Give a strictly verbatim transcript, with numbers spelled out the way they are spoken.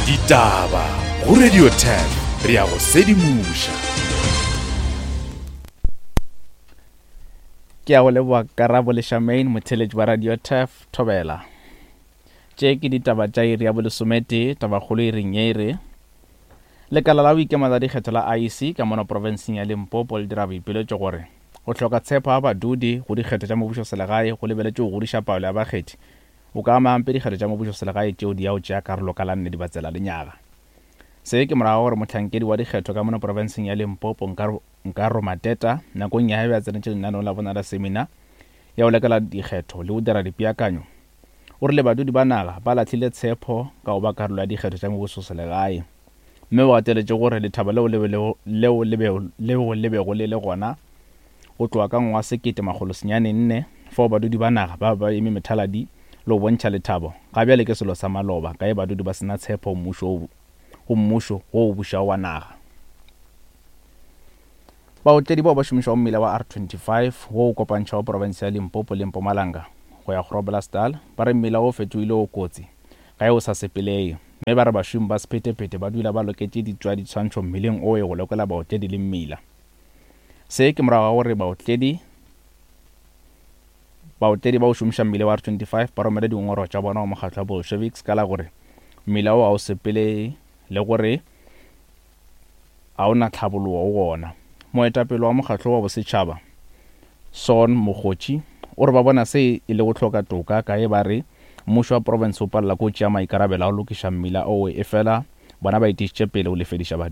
Ditaba go Radio ten re ya go sedimoša. Ke a go leboa Karabo le Charmaine, motheeletši wa Radio Turf Thobela. Tše ke ditaba tša iri ya bolesometee, tabakgolo e reng ye e re Lekala la go ikema la dikgetho la I E C ka mono profenseng ya Limpopo le dira boipiletšo gore go hloka tshepo ga badudi go dikgetho tša mmušoselegae go lebeletše go godiša palo ya bakgethi o ka ama gampe dikgetho tša mmušoselegae tšeo di ya go tšea karolo ka la nne Dibatsela lenyaga. Se ke morago gore mohlankedi wa dikgetho ka mono profenseng ya Limpopo Nkaro Mateta nakong ya ge a tsenetše lenaneong la bona la seminar ya go lekela dikgetho le go dira dipeakanyo o rile badudi ba naga ba lahlile tshepo ka go ba karolo ya dikgetho tša mmušoselegae mme o gateletše gore lethabo leo leo leo le bego le le gona go tloga ka ngwaga sekete makgolo senyane nne fao badudi ba naga ba ba eme methaladi le go bontšha lethabo ga bjale ke selo sa maloba ka ge badudi ba sena tshepo mmušo go mmušo wo o bušago wa naga. Baotledi bao ba šomišago mmila wa R twenty-five wo o kopantšhago profense ya Limpopo le Mpumalanga go ya Groblersdal ba re mmila wo o fetogile o kotsi ga e o sa sepelege mme ba re bašomi ba sephethephethe ba dula ba loketše ditswa ditshwantšho mmileng o e go lekola baotledi le mmila. Se ke morago ga gore baotledi baotledi ba o šomiša mmila wa R twenty-five ba romele dingongorego tša bona go mokgatlo wa Bolsheviks ka la gore mmila wo ga o sepelege le gore ga o na tlhabologo go ona. Moetapele wa mokgatlo wa bosetšhaba Son Mokgotši o re ba bona se e le go hloka toka ka ge ba re mmušo wa profense o palela ke go tšea maikarabelo a go lokiša mmila owe efela bona ba etišitše pele go lefediša badudi.